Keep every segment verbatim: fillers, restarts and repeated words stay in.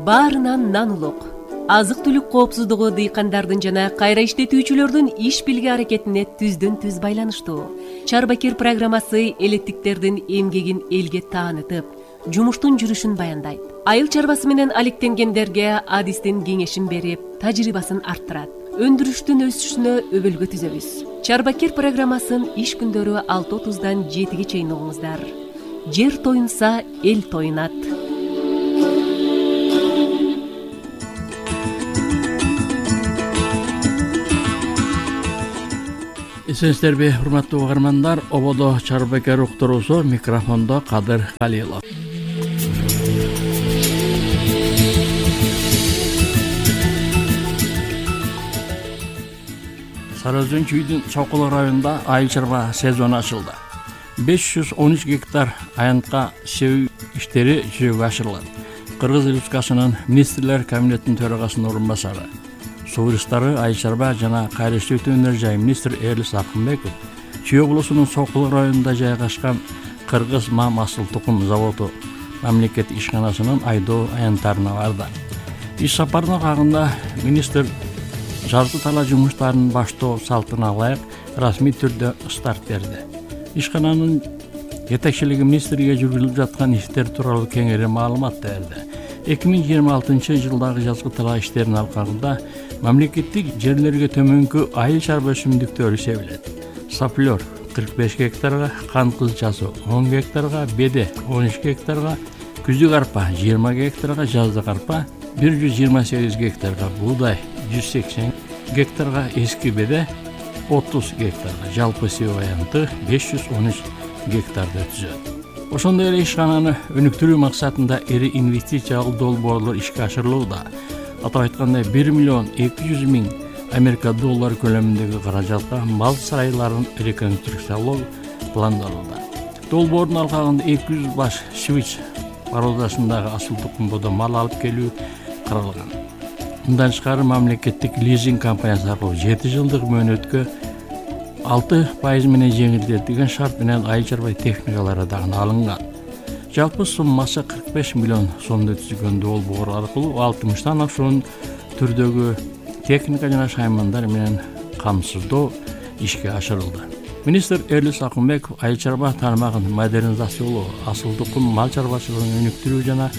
баарынан нан улук. Азык-түлүк коопсуздугу дыйкандардын жана кайра иштетүүчүлөрдүн иш билги аракетине түздөн түз байланыштуу. Чарбакер программасы элеттиктердин эмгегин элге таанытып, жумуштун жүрүшүн баяндайт. Айыл чарбасы менен алектенгендерге адистин кеңешин берип, тажрыйбасын арттырат. Өндүрүштүн өсүшүнө өбөлгө түзөбүз. Чарбакер программасын иш күндөрү алты отуздан жетиге чейин угуңуздар. Жер тоюнса, эл тоюнат. Эсенсиздерби, урматтуу угармандар, ободо Чарбакер уктуруусу, микрофондо Кадыр Калилов. Сары Өзөн чүйдүн Чокулук районунда айыл чарба сезону ачылды. беш жүз он үч гектар аянтка себүү иштери жүзөгө ашырылат. Кыргыз Республикасынын министрлер кабинетинин төрагасынын орун басары, суу ресурстары, айыл чарба жана кайра иштетүү өнөр жай министр Эрлис Акынбеков Чүй облусунун Сокулук районунда жайгашкан Кыргыз мам асыл тукум заводу мамлекеттик ишканасынын айдоо аянттарына барды. Иш сапарына кагында министр жазгы тала жумуштарын баштоо салтына ылайык расмий түрдө старт берди. Ишкананын жетекчилиги министрге жүргүзүлүп жаткан иштер тууралуу кеңири маалымат берди. эки миң жыйырма алтынчы жылдагы жазгы тала иштеринин алкагында мамлекеттик жерлерге төмөнкү айыл чарба өсүмдүктөрү себилет. Саплер кырк беш гектарга, кант кызылчасы он гектарга, беде он үч гектарга, күздүк арпа жыйырма гектарга, жаздык арпа бир жүз жыйырма сегиз гектарга, буудай жүз сексен гектарга, эски беде отуз гектарга, жалпы себүү аянты беш жүз он үч гектарды түзөт. Ошондой эле ишкананы өнүктүрүү максатында ири инвестициялык долбоорлор ишке ашырылууда. Атап айтканда бир миллион эки жүз миң Америка доллары көлөмүндөгү каражатка мал сарайларын реконструкциялоо пландалууда. Долбоордун алкагында эки жүз баш свич породасындагы асыл тукум бодо мал алып келүү каралган. Мындан тышкары мамлекеттик лизинг компаниясы аркылуу жети жылдык мөөнөткө алты пайыз менен жеңилдетилген шарт менен айыл чарба техникалары дагы алынган. Жалпы суммасы кырк беш миллион сомдо түзүлгөн долбоор аркылуу алтымыштан ашуун түрдөгү техника жана шаймандар менен камсыздоо ишке ашырылды. Министр Эрлис Акынбеков айыл чарба тармагын модернизациялоо, асыл тукум мал чарбачылыгын өнүктүрүү жана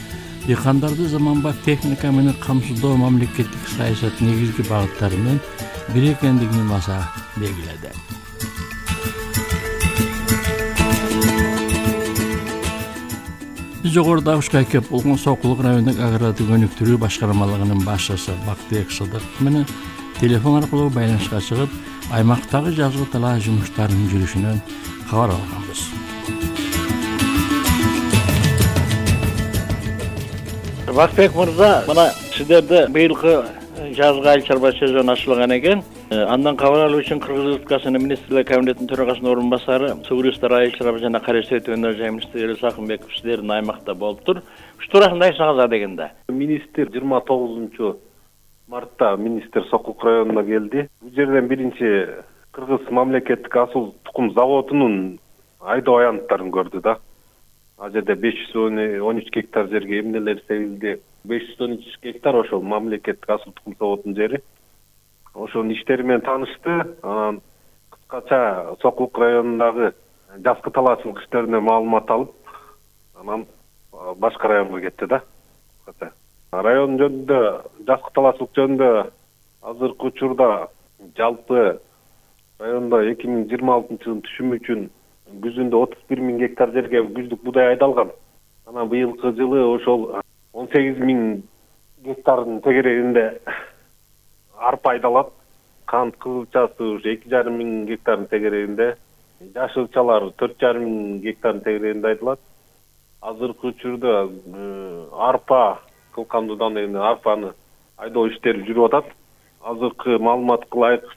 дыйкандарды заманбап техника менен камсыздоо мамлекеттик саясат негизги багыттарынын бири экендигин баса белгиледи. Биз жогоруда ушка кеп болгон Сокулук районундук агрардык өнүктүрүү башкармалыгынын башчысы Бактыбек Сыдыков менен телефон аркылуу байланышка чыгып, аймактагы жазгы тала жумуштарынын жүрүшүнөн кабар алганбыз. Бактыбек мырза, мына сиздерде быйылкы жазгы айыл чарба сезону ачылган экен. Андан кабар алуу үчүн Кыргыз Республикасынын министрлер кабинетинин төрагасынын орун басары, суу ресурстары, айыл чарба жана кайра иштетүү өнөр жай министри Эрлис Акынбеков сиздердин аймакта болуптур. Ушу туурасында айтсаңыздар дегенде. Министр жыйырма тогузунчу мартта министр Сокулук районуна келди. Бул жерден биринчи Кыргыз мамлекеттик асыл тукум заводунун айдоо аянттарын көрдү да. Ал жерде беш жүз он үч гектар жерге эмнелер себилди. беш жүз он үч гектар ошол мамлекеттик асыл тукум заводунун жери. Ошонун иштери менен таанышты. Анан кыскача Сокулук районундагы жазгы талаачылык иштерине маалымат алып, анан башка районго кетти да. Район жөнүндө, жазгы талаачылык жөнүндө азыркы учурда жалпы райондо эки миң жыйырма алтынчы жылдын түшүмү үчүн күзүндө отуз бир миң гектар жерге күздүк буудай айдалган. Анан быйылкы жылы ошол он сегиз миң гектардын тегерегинде арпа айдалат. Кант кызылчасы ушу эки жарым миң гектардын тегерегинде, жашылчалар төрт жарым миң гектардын тегерегинде айдалат. Азыркы учурда арпа кылкандуудан эми арпаны айдоо иштери жүрүп атат. Азыркы маалыматка ылайык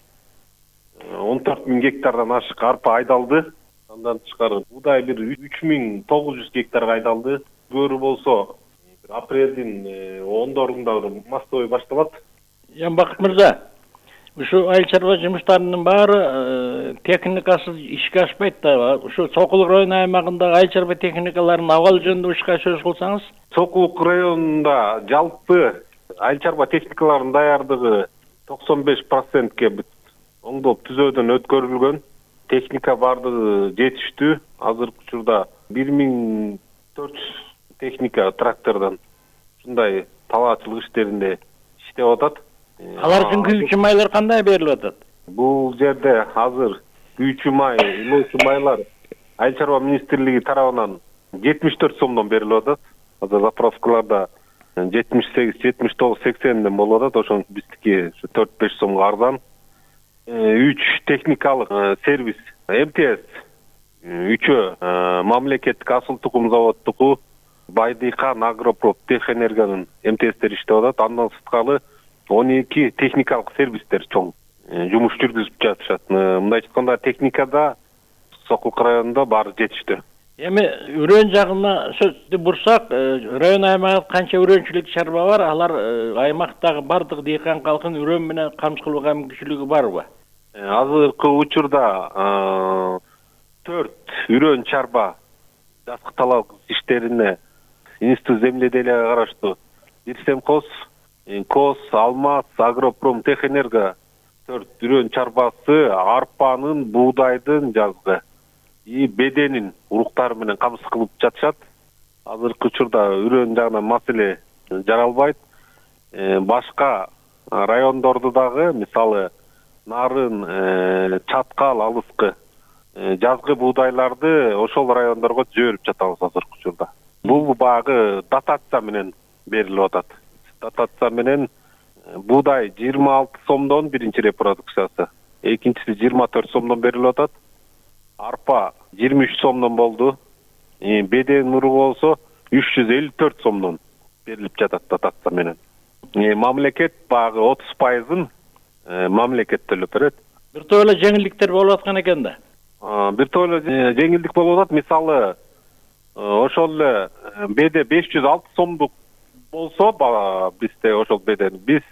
он төрт миң гектардан ашык арпа айдалды. Андан тышкары буудай бир үч миң тогуз жүз гектарга айдалды. Көөрү болсо апрелдин ондорунда мастовой башталат. Жан Бакыт мырза, Ушу айыл чарба жумуштарынын баары техникасыз ишке ашпайт да. Ушу Сокулук району аймагындагы айыл чарба техникаларынын абалы жөнүндө ушка сөз кылсаңыз. Сокулук районунда жалпы айыл чарба техникаларынын даярдыгы токсон беш процентке оңдоп түзөөдөн өткөрүлгөн. Техника бардыгы жетиштүү. Азыркы учурда бир миң төрт жүз техника трактордон ушундай талаачылык иштеринде иштеп атат. Алар үчүн күйүүчү майлар кандай берилип атат? Бул жерде азыр күйүүчү май, илоочу майлар айыл чарба министрлиги тарабынан жетимиш төрт сомдон берилип атат. Азыр заправкаларда жетимиш сегиз, жетимиш тогуз, сексенден болуп атат. Ошон биздики төрт беш сомго арзан. үч техникалык сервис эм тэ эс, үчөө мамлекеттик асыл тукум заводдуку, Байдыйкан Агропром Техэнергиянын эм тэ эстери иштеп атат. Андан сырткары он эки техникалык сервистер чоң жумуш жүргүзүп жатышат. Мындайча айтканда техникада Сокулук районунда баары жетиштүү. Эми үрөн жагына сөздү бурсак, район аймагында канча үрөнчүлүк чарба бар? Алар аймактагы бардык дыйкан калкын үрөн менен камсыз кылууга мүмкүнчүлүгү барбы? Азыркы учурда төрт үрөн чарба жазгы талап иштерине Институт земледелия караштуу Бирсемхоз, КОС, Алмаз, Агропром Техэнерго төрт үрөн чарбасы арпанын, буудайдын жазгы и беденин уруктары менен камсыз кылып жатышат. Азыркы учурда үрөн жагынан маселе жаралбайт. Башка райондорду дагы, мисалы Нарын, Чаткал, Алыскы жазгы буудайларды ошол райондорго жиберип жатабыз азыркы учурда. Бул багы дотация менен берилип атат. Дотация менен буудай жыйырма алты сомдон биринчи репродукциясы, экинчиси жыйырма төрт сомдон берилип атат. Арпа жыйырма үч сомдон болду. Беден уругу болсо үч жүз элүү төрт сомдон берилип жатат дотация менен. Мамлекет багы отуз пайызын мамлекет төлөп берет. Бир топ эле жеңилдиктер болуп аткан экен да. Бир топ эле жеңилдик болуп атат. Мисалы, ошол эле беде беш жүз алты сомдук болсо, бизде ошол беден биз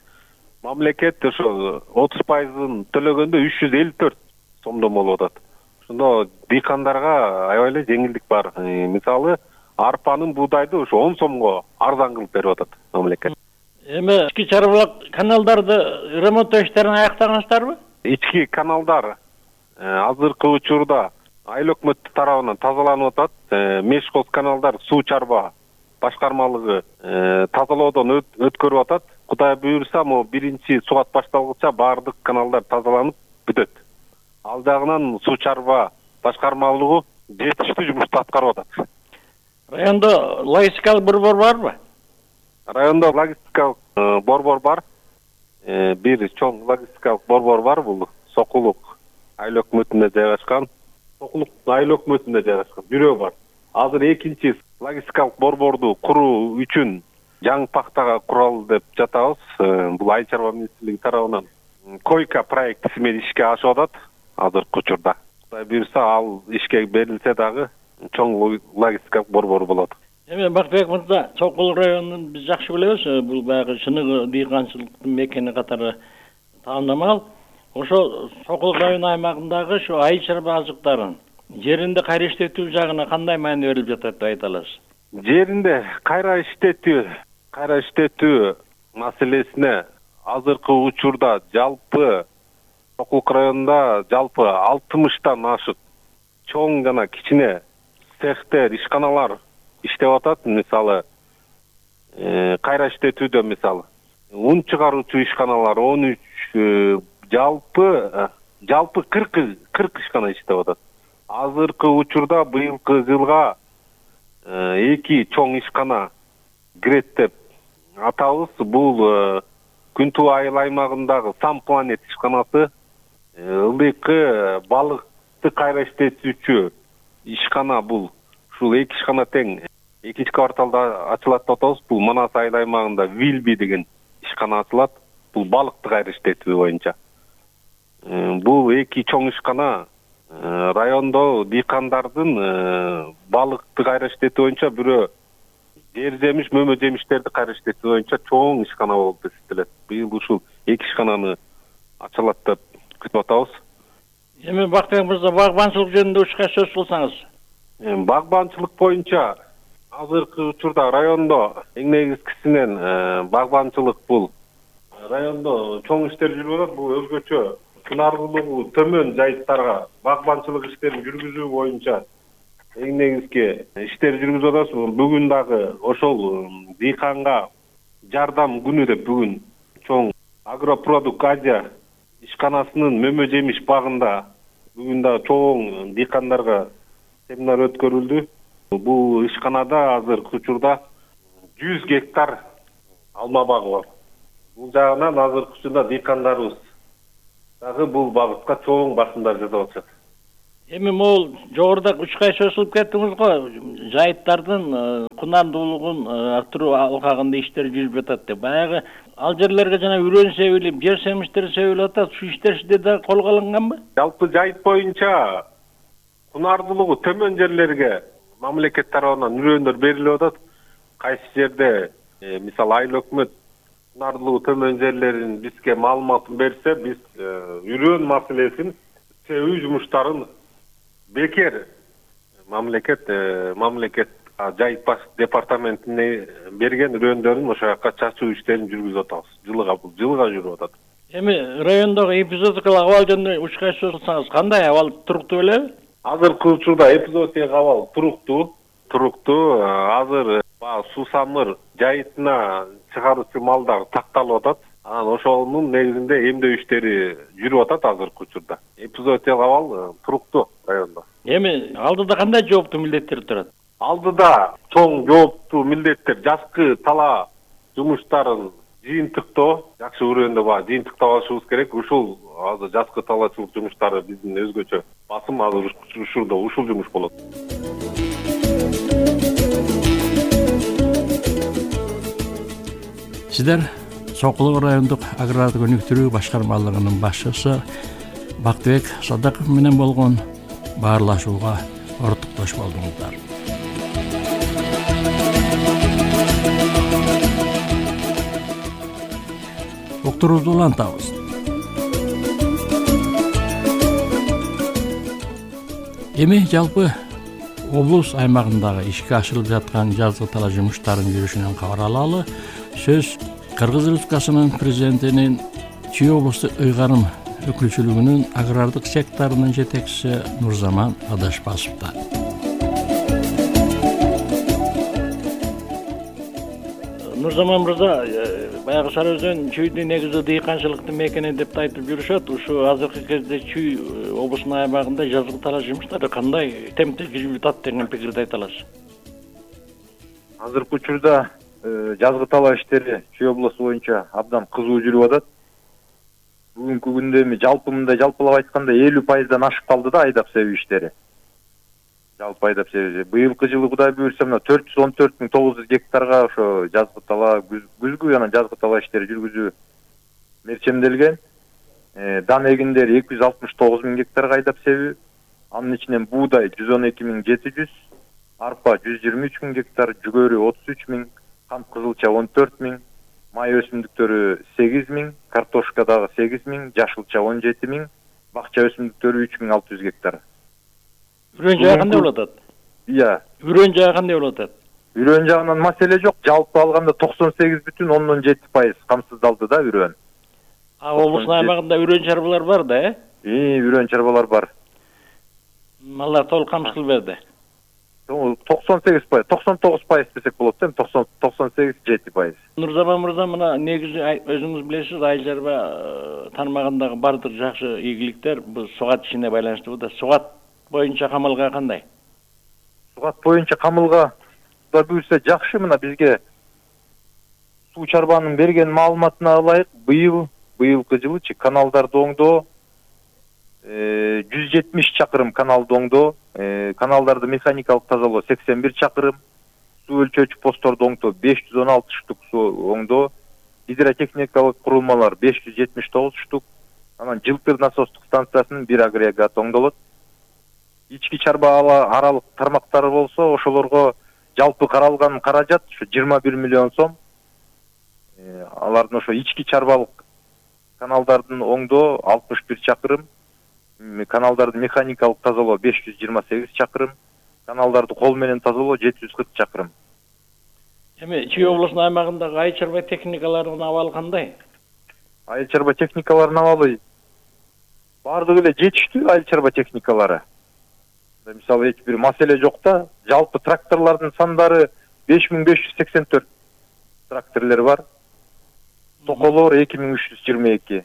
мамлекет ошол отуз пайызын төлөгөндө үч жүз элүү төрт сомдон болуп атат. Ошондо дыйкандарга аябай эле жеңилдик бар. Мисалы, арпанын, буудайды ошо он сомго арзан кылып берип атат мамлекет. Эми ички чарбалык каналдарды ремонттоо иштерин аяктагансыздарбы? Ички каналдар азыркы учурда айыл өкмөтү тарабынан тазаланып атат. Мешкоз каналдар суу чарба башкармалыгы тазалоодон өткөрүп атат. Кудай буйрса, могу биринчи сугат башталгыча баардык каналдар тазаланып бүтөт. Ал жагынан суу чарба башкармалыгы жетиштүү жумушту аткарып атат. Райондо логистикалык борбор барбы? Райондо логистикалык борбор бар. Бир чоң логистикалык борбор бар, бул Сокулук айыл өкмөтүндө жайгашкан. Сокулук айыл өкмөтүндө жайгашкан бирөө бар. Азыр экинчи логистикалык борборду куруу үчүн жаңы пактага куралы деп жатабыз. Бул айыл чарба министрлиги тарабынан койка проектиси менен ишке ашып атат азыркы учурда. Кудай буйрса, ал ишке берилсе дагы чоң логистикалык борбор болот. Эми Бактыбек мырза, Сокулук районун биз жакшы билебиз, бул баягы чыныгы дыйканчылыктын мекени катары таандамал. Ошо Сокулук району аймагындагы ушу айыл чарба азыктарын жеринде кайра иштетүү жагына кандай маани берилип жатат деп айта аласыз? Жеринде кайра иштетүү, кайра иштетүү маселесине азыркы учурда жалпы Сокулук районунда жалпы алтымыштан ашык чоң жана кичине цехтер, ишканалар иштеп атат. Мисалы, кайра иштетүүдө мисалы ун чыгаруучу ишканалар он үч, жалпы жалпы кырк ишкана иштеп атат. Азыркы учурда быйылкы жылга эки чоң ишкана кирет деп атабыз. Бул Күнтүү айыл аймагындагы Сам Планет ишканасы, ылдыйкы балыкты кайра иштетүүчү ишкана. Бул ушул эки ишкана тең экинчи кварталда ачылат деп атабыз. Бул Манас айыл аймагында Вилби деген ишкана ачылат. Бул балыкты кайра иштетүү боюнча. Бул эки чоң ишкана райондо дыйкандардын балыкты кайра иштетүү боюнча, бирөө жер жемиш, мөмө жемиштерди кайра иштетүү боюнча чоң ишкана болуп эсептелет. Быйыл ушул эки ишкананы ачылат деп күтүп атабыз. Эми Бактыбек мырза, багбанчылык жөнүндө ушка сөз кылсаңыз. Багбанчылык боюнча азыркы учурда райондо эң негизгисинен багбанчылык бул райондо чоң иштер жүрүп атат. Бул өзгөчө сунардуулугу төмөн жайыттарга багбанчылык иштерин жүргүзүү боюнча эң негизги иштер жүргүзүп атабыз. Бүгүн дагы ошол дыйканга жардам күнү деп бүгүн чоң Агропродукт Азия ишканасынын мөмө жемиш багында бүгүн дагы чоң дыйкандарга семинар өткөрүлдү. Бул ишканада азыркы учурда жүз гектар алма багы бар. Бул жагынан азыркы учурда дыйкандарыбыз дагы бул багытка чоң басымдар жасап атышат. Эми могул жогоруда учкай сөз кылып кеттиңиз го, жайыттардын кунардуулугун арттыруу алкагында иштер жүрүп жатат деп. Баягы ал жерлерге жана үрөн себилип, жер семиштер себилип атат. Ушу иштер сизде да колго алынганбы? Жалпы жайыт боюнча кунардуулугу төмөн жерлерге мамлекет тарабынан үрөндөр берилип атат. Кайсы жерде мисалы айыл өкмөт кунардуулугу төмөн жерлерин бизге маалыматын берсе, биз үрөн маселесин себүү жумуштарын бекер мамлекет мамлекет жайыт баш департаментине берген үрөндөрүн ошол жака чачуу иштерин жүргүзүп атабыз. Жылыга бул жылыга жүрүп атат. Эми райондогу эпизодикалык абал жөнүндө учкай сөз кылсаңыз, кандай абал, туруктуу белеби? Азыркы учурда эпизодикалык абал туруктуу, туруктуу. Азыр суусамыр жайытына чыгаруучу малдар такталып атат. Анан ошонун негизинде эмдөө иштери жүрүп атат азыркы учурда. Эпизодикалык абал туруктуу райондо. Эми алдыда кандай жооптуу милдеттер турат? Алдыда чоң жооптуу милдеттер жазкы тала жумуштарын жыйынтыктоо, жакшы үрөндө бар жыйынтыктап алышыбыз керек. Ушул азыр жазкы талаачылык жумуштары биздин өзгөчө басым азыр ушурда ушул жумуш болот. Сиздер Сокулук райондук агрардык өнүктүрүү башкармалыгынын башчысы Бактыбек Садыков менен болгон баарлашууга ортуктош болдуңуздар. Уктуруубузду улантабыз. Эми жалпы облус аймагындагы ишке ашырылып жаткан жазгы тала жумуштарынын жүрүшүнөн кабар алалы. Сөз Кыргыз Республикасынын президентинин Чүй облустук ыйгарым өкүлчүлүгүнүн агрардык секторунун жетекчиси Нурзаман Адашбасовдо. Нурзаман мырза, баягы Сары Өзөн Чүйдүн негизи дыйканчылыктын мекени деп айтып жүрүшөт. Ушу азыркы кезде Чүй облусунун аймагында жазгы тала жумуштары кандай темпте жүрүп атат деген пикирди айта аласыз? Азыркы учурда жазгы тала иштери Чүй облусу боюнча абдан кызуу жүрүп атат. Бүгүнкү күндө эми жалпы мындай жалпылап айтканда элүү пайыздан ашып калды да айдап себүү иштери. Жалпы айдап себүү. Быйылкы жылы Кудай буйрса мына төрт жүз он төрт миң тогуз жүз гектарга ошо жазгы тала, күзгү жана жазгы тала иштери жүргүзүү мерчемделген. Дан эгиндери эки жүз алтымыш тогуз миң гектарга айдап себүү. Анын ичинен буудай жүз он эки миң жети жүз, арпа жүз жыйырма үч миң гектар, жүгөрү отуз үч миң, кант кызылча он төрт миң, май өсүмдүктөрү сегиз миң, картошка дагы сегиз миң, жашылча он жети миң, бакча өсүмдүктөрү үч миң алты жүз гектар. Үрөн жайы кандай болуп атат? Иә. Үрөн жайы кандай болуп атат? Үрөн жагынан маселе жок. Жалпы алганда токсон сегиз бүтүн ондон жети пайыз камсыздалды да үрөн. А облустун аймагында үрөн чарбалар бар да, э? Ии, үрөн чарбалар бар. Алар толук камсыз берди. токсон сегиз пайыз, токсон тогуз пайыз десек болот да, токсон сегиз жети пайыз. Нурзаман мырза, мына негизи өзүңүз билесиз, айыл чарба тармагындагы бардык жакшы ийгиликтер бул сугат ишине байланыштуу да. Сугат боюнча камылга кандай? Сугат боюнча камылга да буйрса жакшы. Мына бизге суу чарбанын берген маалыматына ылайык, быйыл быйылкы жылычы каналдарды оңдоо жүз жетимиш чакырым каналды оңдоо, каналдарды механикалык тазалоо сексен бир чакырым, суу өлчөөчү постторду оңдоо беш жүз он алты штук суу оңдоо, гидротехникалык курулмалар беш жүз жетимиш тогуз штук, анан жылтыр насостук станциясынын бир агрегат оңдолот. Ички чарба аралык тармактары болсо, ошолорго жалпы каралган каражат ушу жыйырма бир миллион сом. Алардын ошо ички чарбалык каналдардын оңдоо алтымыш бир чакырым, каналдарды механикалык тазалоо беш жүз жыйырма сегиз чакырым, каналдарды кол менен тазалоо жети жүз кырк чакырым. Эми Чүй облусунун аймагындагы айыл чарба техникаларынын абалы кандай? Айыл чарба техникаларынын абалы бардыгы эле жетиштүү айыл чарба техникалары. Мисалы эч бир маселе жок да. Жалпы тракторлордун сандары беш миң беш жүз сексен төрт тракторлор бар. Токолор эки миң үч жүз жыйырма эки.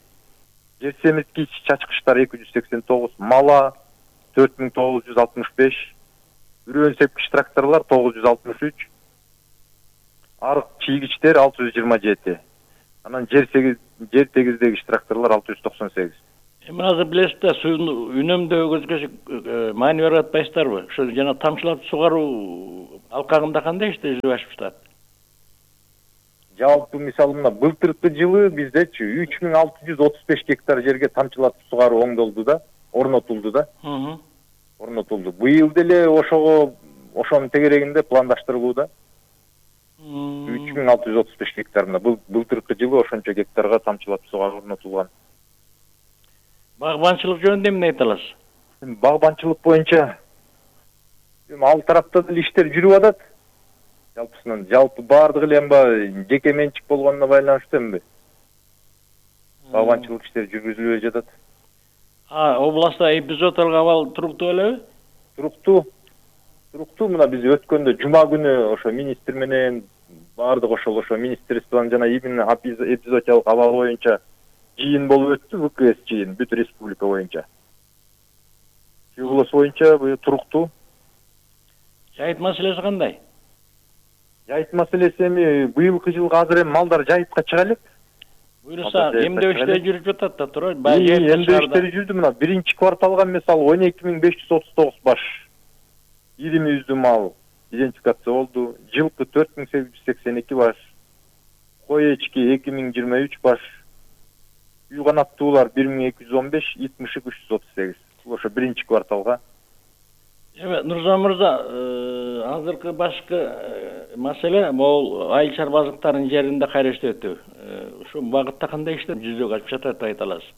Жер семирткич чачкычтар эки жүз сексен тогуз, мала төрт миң тогуз жүз алтымыш беш, үрөөн сепкич тракторлор тогуз жүз алтымыш үч, арык чийгичтер алты жүз жыйырма жети. Анан жер сегиз жер тегиздегич тракторлор алты жүз токсон сегиз. Эми азыр билесиз да, суун үнөмдөө көзгөчү маани берип атпайсыздарбы? Ошо жана тамчылатып сугаруу алкагында кандай иште жүзүп ашып жатат? Жалпы мисалы мына былтыркы жылы биздечи үч миң алты жүз отуз беш гектар жерге тамчылатып сугаруу оңдолду да, орнотулду да. Орнотулду. Быйыл деле ошого ошонун тегерегинде пландаштырылууда. үч миң алты жүз отуз беш гектарына былтыркы жылы ошончо гектарга тамчылатып сугаруу орнотулган. Багбанчылык жөнүндө эмне айта аласыз? Багбанчылык боюнча эми ал тарапта деле иштер жүрүп атат. Жалпысынан жалпы бардыгы эле эми жеке менчик болгонуна байланыштуу эми багбанчылык иштери жүргүзүлүп жатат. А, областта эпизоддорго абал туруктуу белеби? Туруктуу. Туруктуу. Мына биз өткөндө жума күнү ошо министр менен бардык ошол ошо министрствонун жана именно эпизодиялык абал боюнча жыйын болуп өттү, ВКС жыйын бүт республика боюнча. Чүй облусу боюнча туруктуу. Жайыт маселеси кандай? Жайыт маселеси эми быйылкы жылга азыр эми малдар жайытка чыга элек. Буюрса, эмдөө иштери жүрүп жатат да, туура? Эмдөө иштери жүрдү. Мына биринчи кварталга мисалы он эки миң беш жүз отуз тогуз баш ири мүйүздүү мал идентификация болду. Жылкы төрт миң сегиз жүз сексен эки баш, кой эчки эки миң жыйырма үч баш, үй канаттуулар бир миң эки жүз он беш, ит мышык үч жүз отуз сегиз. Бул ошо биринчи кварталга. Эми Нурзан мырза, азыркы башкы маселе могул айыл чарбалыктарынын жеринде кайра иштетүү. Ушул багытта кандай иштер жүзөгө ашып жатат айта аласыз?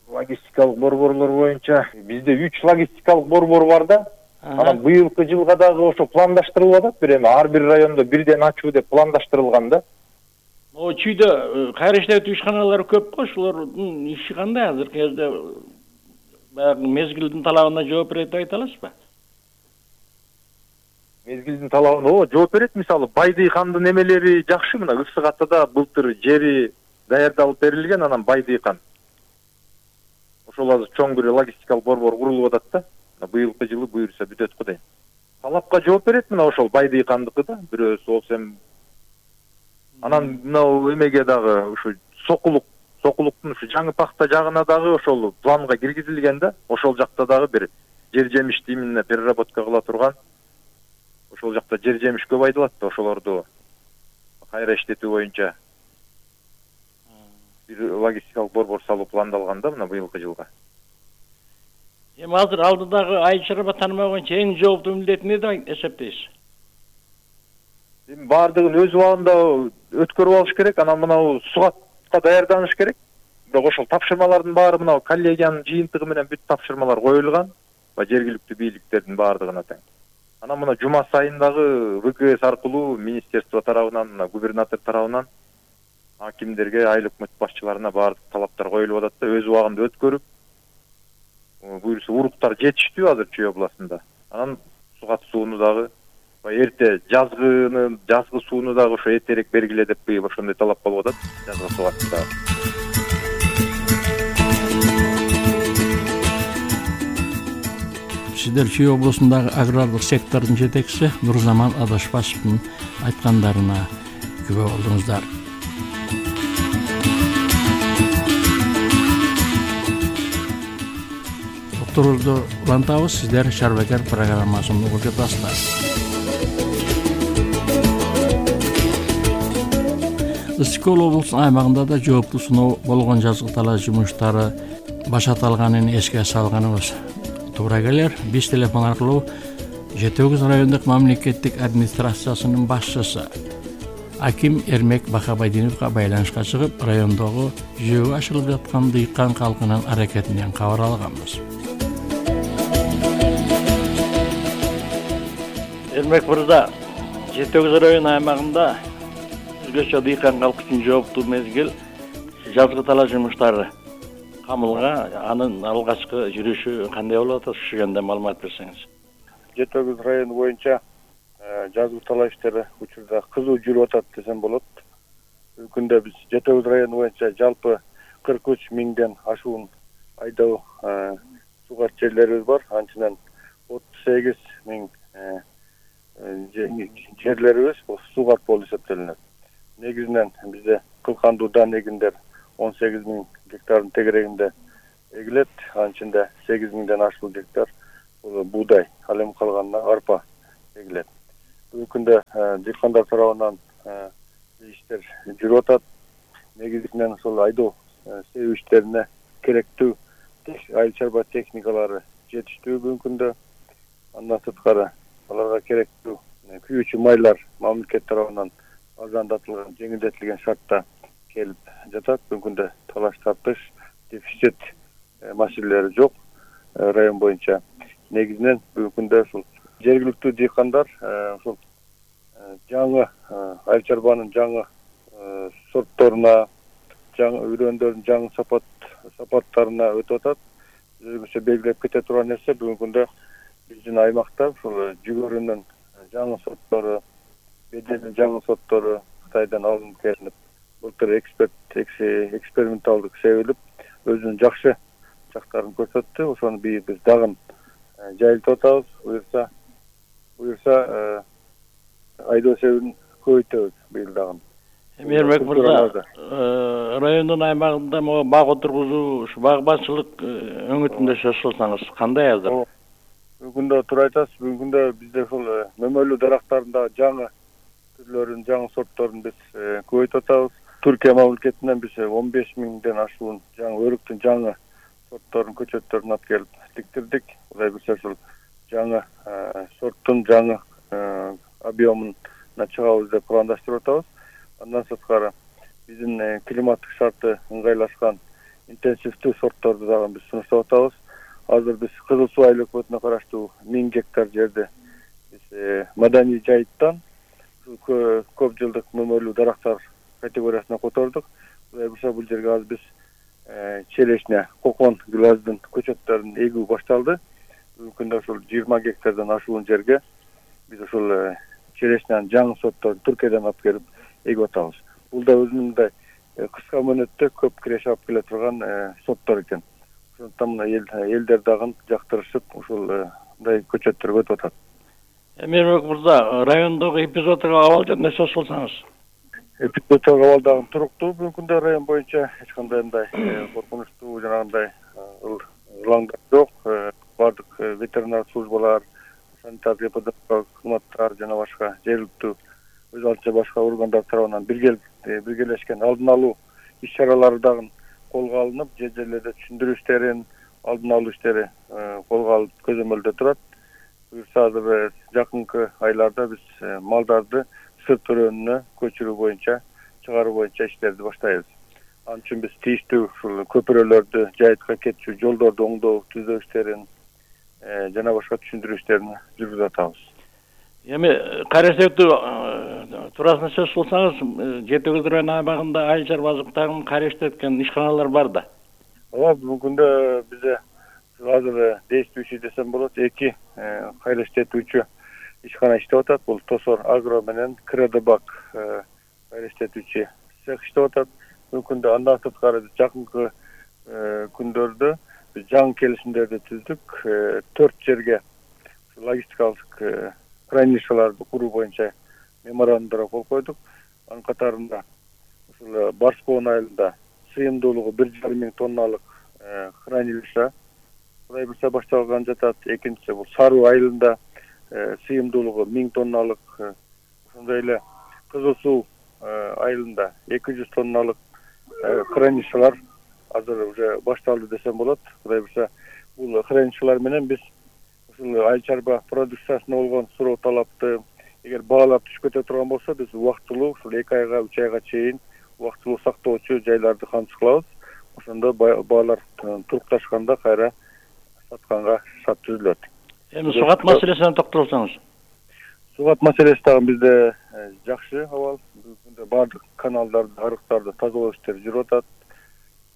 Логистикалык борборлор боюнча бизде үч логистикалык борбор бар да. Анан быйылкы жылга дагы ошо пландаштырылып атат. Бир эми ар бир райондо бирден ачуу деп пландаштырылган да. О, Чүйдө кайра иштетүү ишканалары көп го, ошолордун иши кандай азыркы кезде? Баягы мезгилдин талабына жооп берет деп айта аласызбы? Мезгилдин талабына о жооп берет. Мисалы Байдыйкандын эмелери жакшы. Мына Ысык Атада былтыр жери даярдалып берилген, анан Байдыйкан. Ошол азыр чоң бир логистикалык борбор курулуп атат да. Быйылкы жылы буюрса бүтөт го дейм. Талапка жооп берет мына ошол Байдыйкандыкы да, бирөөсү болсо эми. Анан мына эмеге дагы ушу Сокулук Сокулуктун ушу жаңы пахта жагына дагы ошол планга киргизилген да. Ошол жакта дагы бир жер жемишти именно переработка кыла турган. Ошол жакта жер жемиш көп айдалат да, ошолорду кайра иштетүү боюнча бир логистикалык борбор салуу пландалган да мына быйылкы жылга. Эми азыр алдыдагы айыл чарба таанымы боюнча эң жооптуу милдет эмне деп эсептейсиз? Эми бардыгын өз убагында өткөрүп алыш керек. Анан мына сугатка даярданыш керек. Бирок ошол тапшырмалардын баары мына коллегиянын жыйынтыгы менен бүт тапшырмалар коюлган. Ба жергиликтүү бийликтердин баардыгына тең. Анан мына жума сайын дагы ВКС аркылуу министерство тарабынан, мына губернатор тарабынан акимдерге, айыл өкмөт башчыларына баардык талаптар коюлуп атат да, өз убагында өткөрүп, буюрса уруктар жетиштүү азыр Чүй областында. Анан сугат сууну дагы эрте жазгыны, жазгы сууну дагы ошо эртерээк бергиле деп быйыл ошондой талап болуп атат. Жазгы сугатты дагы. Сиздер Чүй облусундагы агрардык сектордун жетекчиси Нурзаман Адашбашевдин айткандарына күбө болдуңуздар. Докторду улантабыз, сиздер Шарбакер программасын угуп жатасыздар. Ысык-Көл облусунун аймагында да жооптуу сыноо болгон жазгы талаа жумуштары башаталганын эске салганыбыз туура келер. Биз телефон аркылуу жети тогуз райондук мамлекеттик администрациясынын башчысы аким Эрмек Бакабайдиновго байланышка чыгып, райондогу жүзөгө ашырылып жаткан дыйкан калкынын аракетинен кабар алганбыз. Эрмек мырза, Жети Өгүз району аймагында өзгөчө дыйкан калк үчүн жооптуу мезгил жазгы талаа жумуштары камылга, анын алгачкы жүрүшү кандай болуп атат, ушу жөнүндө маалымат берсеңиз. Жети Өгүз району боюнча жазгы талаа иштери учурда кызуу жүрүп атат десем болот. Бүгүнкү күндө биз Жети Өгүз району боюнча жалпы кырк үч миңден ашуун айдоо сугат жерлерибиз бар. Анчынан отуз сегиз миң жерлерибиз сугат болуп эсептелинет. Негизинен бизде кылкандуу дан эгиндер он сегиз миң гектардын тегерегинде эгилет. Анын ичинде сегиз миңден ашуун гектар бул буудай, ал эми калганына арпа эгилет. Бүгүнкү күндө дыйкандар тарабынан иштер жүрүп атат. Негизинен ошол айдоо себүү иштерине керектүү айыл чарба техникалары жетиштүү бүгүнкү күндө. Андан сырткары аларга керектүү күйүүчү майлар мамлекет тарабынан арзандатылган, жеңилдетилген шартта келип жатат. Бүгүнкү күндө талаш тартыш, дефицит маселелери жок район боюнча. Негизинен бүгүнкү күндө ушул жергиликтүү дыйкандар ушул жаңы айыл чарбанын жаңы сортторуна, жаңы үрөндөрдүн жаңы сапат сапаттарына өтүп атат. Өзгөчө белгилеп кете турган нерсе бүгүнкү күндө биздин аймакта ушул жүгөрүнүн жаңы сорттору, беделдүү жаңы сорттору Кытайдан алынып келинип, былтыр эксперт эксперименталдык себилип өзүнүн жакшы жактарын көрсөттү. Ошону биз дагы жайылтып атабыз. Буюрса, буюрса айдоо себүүн көбөйтөбүз быйыл дагы. Эрмек мырза, райондун аймагында могу бак отургузуу, ушу багбанчылык өңүтүндө сөз кылсаңыз, кандай азыр? Бүгүнкү күндө туура айтасыз. Бүгүнкү күндө бизде ушул мөмөлүү дарактарында жаңы түрлөрүн, жаңы сортторун биз көбөйтүп атабыз. Түркия мамлекетинен биз он беш миңден ашуун жаңы өрүктүн жаңы сортторун, көчөттөрүн алып келип тиктирдик. Кудай буйрса ушул жаңы сорттун жаңы объемуна чыгабыз деп пландаштырып атабыз. Андан сырткары биздин климаттык шарты ыңгайлашкан интенсивдүү сортторду дагы биз сунуштап атабыз. Азыр биз Кызыл Суу айыл өкмөтүнө караштуу миң гектар жерди биз маданий жайыттан көп жылдык мөмөлүү дарактар категориясына котордук. Кудай буйрса бул жерге азыр биз челешне, кокон, гүлаздын көчөттөрүн эгүү башталды. Бүгүнкү күндө ушул жыйырма гектардан ашуун жерге биз ушул челешненин жаңы сортторун Түркиядан алып келип эгип атабыз. Бул да өзүнүн мындай кыска мөөнөттө көп киреше алып келе турган сорттор экен. Ошондуктан мына элдер дагы жактырышып ушул мындай көчөттөргө өтүп атат. Эрмек мырза, райондогу эпизоддук абал жөнүндө сөз кылсаңыз. Эпизоддук абал дагы туруктуу бүгүнкү күндө район боюнча. Эч кандай мындай коркунучтуу жанагындай ылаңдар жок. Бардык ветеринар службалар, санитардык эпидемиологиялык кызматтар жана башка жергиликтүү өз алдынча башка органдар тарабынан биргелешкен алдын алуу иш-чаралары дагы колго алынып, жер жерлерде түшүндүрүү иштерин, алдын алуу иштери колго алып көзөмөлдө турат. Буюрса азыр жакынкы айларда биз малдарды сырт өрөөнүнө көчүрүү боюнча, чыгаруу боюнча иштерди баштайбыз. Ал үчүн биз тийиштүү ушул көпүрөлөрдү, жайытка кетчү жолдорду оңдоо, түзөө иштерин жана башка түшүндүрүү иштерин жүргүзүп атабыз. Эми карасектүү туурасында сөз кылсаңыз, Жети Өгүз району аймагында айыл чарба азыктарын караштеткен ишканалар бар да. Ооба, бүгүнкү күндө бизде азыр действующий десем болот, эки кайраштетүүчү ишкана иштеп атат. Бул Тосор Агро менен Кредобак кайраштетүүчү цех иштеп атат. Бүгүнкү күндө андан сырткары жакынкы күндөрдө биз жаңы келишимдерди түздүк. Төрт жерге логистикалык хранилищаларды куруу боюнча меморандумдарга кол койдук. Анын катарында ушул Барскоон айылында сыйымдуулугу бир жарым миң тонналык хранилище Кудай буйрса башталган жатат. Экинчиси бул Саруу айылында сыйымдуулугу миң тонналык, ошондой эле Кызыл Суу айылында эки жүз тонналык хранилищалар азыр уже башталды десем болот. Кудай буйрса бул хранилищалар менен биз ушул айыл чарба продукциясына болгон суроо талапты, эгер баалар түшүп кете турган болсо биз убактылуу ушул эки айга үч айга чейин убактылуу сактоочу жайларды кантыш кылабыз. Ошондо баалар турукташканда кайра сатканга шарт түзүлөт. Эми сугат маселесине токтолсоңуз. Сугат маселеси дагы бизде жакшы абал. Бүгүндө баардык каналдарды, арыктарды тазалоо иштери жүрүп атат.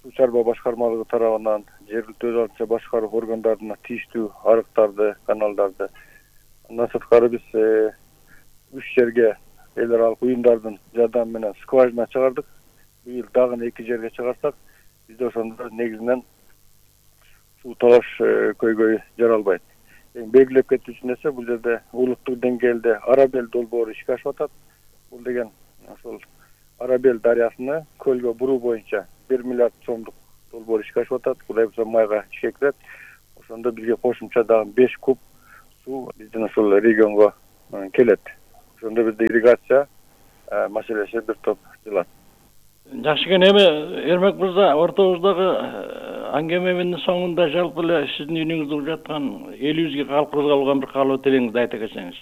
Суу чарба башкармалыгы тарабынан жергиликтүү өз алдынча башкаруу органдарына тийиштүү арыктарды, каналдарды. Андан сырткары биз үч жерге эл аралык уюмдардын жардамы менен скважина чыгардык. Быйыл дагы эки жерге чыгарсак, бизде ошондо негизинен суу талаш көйгөйү жаралбайт. Эң белгилеп кетүүчү нерсе бул жерде улуттук деңгээлде Арабел долбоору ишке ашып атат. Бул деген ошол Арабел дарыясына көлгө буруу боюнча бир миллиард сомдук долбоор ишке ашып атат. Кудай буюрса майга ишке кирет. Ошондо бизге кошумча дагы беш куб суу биздин ошол регионго келет. Ошондо бизде ирригация маселеси бир топ жылат. Жакшы экен. Эми Эрмек мырза, ортобуздагы аңгеменин соңунда жалпы эле сиздин үйүңүздө уруп жаткан элибизге калкыбызга болгон бир каалоо тилегиңизди айта кетсеңиз.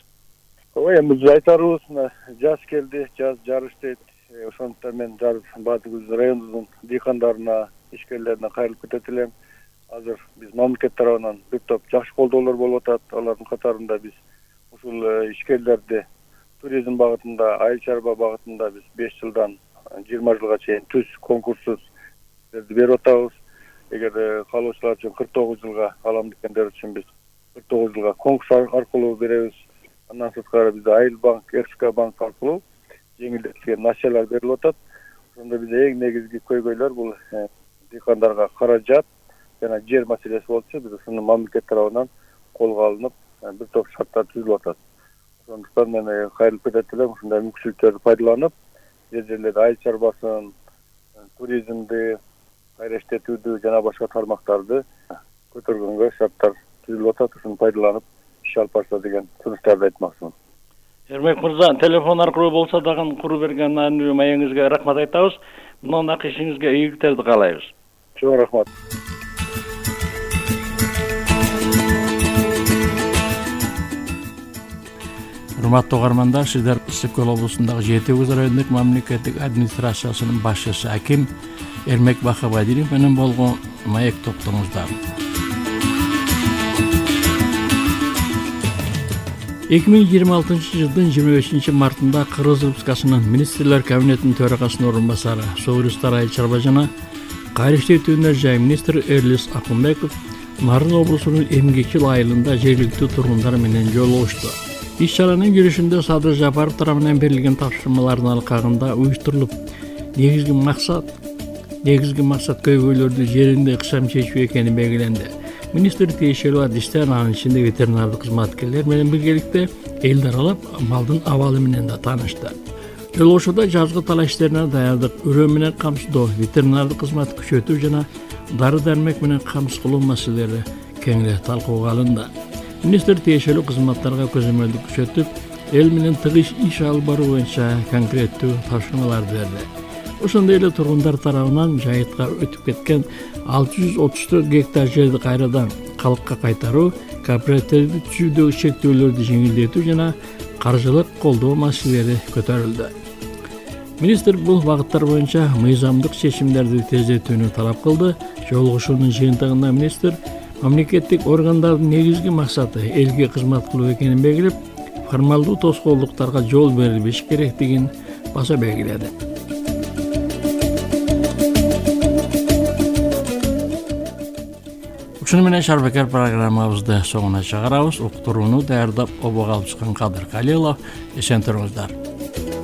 Ой, эми биз айтарыбыз, мына жаз келди, жаз жарыш дейт. Ошондуктан мен баардык биздин райондун дыйкандарына, ишкерлерине кайрылып кетет элем. Азыр биз мамлекет тарабынан бир топ жакшы колдоолор болуп атат. Алардын катарында биз ушул ишкерлерди туризм багытында, айыл чарба багытында биз беш жылдан жыйырма жылга чейин түз конкурссуз берип атабыз. Эгер каалоочулар үчүн кырк тогуз жылга, алам дегендер үчүн биз кырк тогуз жылга конкурс аркылуу беребиз. Андан сырткары бизде Айыл банк, РСК банк аркылуу жеңилдетилген несиелер берилип атат. Ошондо бизде эң негизги көйгөйлөр бул дыйкандарга каражат жана жер маселеси болчу. Биз ушуну мамлекет тарабынан колго алынып, бир топ шарттар түзүлүп атат. Ошондуктан мен кайрылып кетет элем, ушундай мүмкүнчүлүктөрдү пайдаланып, жер жерлерде айыл чарбасын, туризмди кайра иштетүүдү жана башка тармактарды көтөргөнгө шарттар түзүлүп атат. Ушуну пайдаланып иш алып барса деген сунуштарды айтмакчымын. Эрмек мырза, телефон аркылуу болсо дагы куруп берген маанилүү маегиңизге рахмат айтабыз. Мындан ишиңизге ийгиликтерди каалайбыз. Чоң рахмат. Урматтуу угармандар, сиздер Ысык Көл облусундагы Жети Өгүз райондук мамлекеттик администрациясынын башчысы аким Эрмек Бахабадиров менен болгон маек токтоңуздар. эки миң жыйырма алтынчы жылдын жыйырма бешинчи мартында Кыргыз Республикасынын министрлер кабинетинин төрагасынын орун басары, Согурустар айыл чарба жана кайра иштетүүнөр жай министри Эрлис Акунбеков Нарын облусунун Эмгекчил айылында жергиликтүү тургундар менен жолугушту. Иш-чаранын жүрүшүндө Садыр Жапаров тарабынан берилген тапшырмалардын алкагында уюштурулуп, негизги максат негизги максат көйгөйлөрдү жеринде ыкчам чечүү экени белгиленди. Министр тиешелүү адистер, анын ичинде ветеринардык кызматкерлер менен биргеликте элди аралап, малдын абалы менен да таанышты. Жолугушууда жазгы талаш иштерине даярдык, өрөө менен камсыздоо, ветеринардык кызматты күчөтүү жана дары-дармек менен камсыз кылуу маселелери кеңири талкууга алынды. Министр тиешелүү кызматтарга көзөмөлдүк күчөтүп, эл менен тыгыз иш алып баруу боюнча конкреттүү тапшырмаларды берди. Ошондой эле тургундар тарабынан жайытка өтүп кеткен алты жүз отуз төрт гектар жерди кайрадан калкка кайтаруу, кооперативди түзүүдөгү чектөөлөрдү жеңилдетүү жана каржылык колдоо маселелери көтөрүлдү. Министр бул багыттар боюнча мыйзамдык чечимдерди тездетүүнү талап кылды. Жолугушуунун жыйынтыгында министр мамлекеттик органдардын негизги максаты элге кызмат кылуу экенин белгилеп, формалдуу тоскоолдуктарга жол берилбеш керектигин баса белгиледи. Ушуну менен Шарбекер программабызды соңуна чыгарабыз. Уктурууну даярдап обого алып чыккан Кадыр Калилов. Эсен туруңуздар.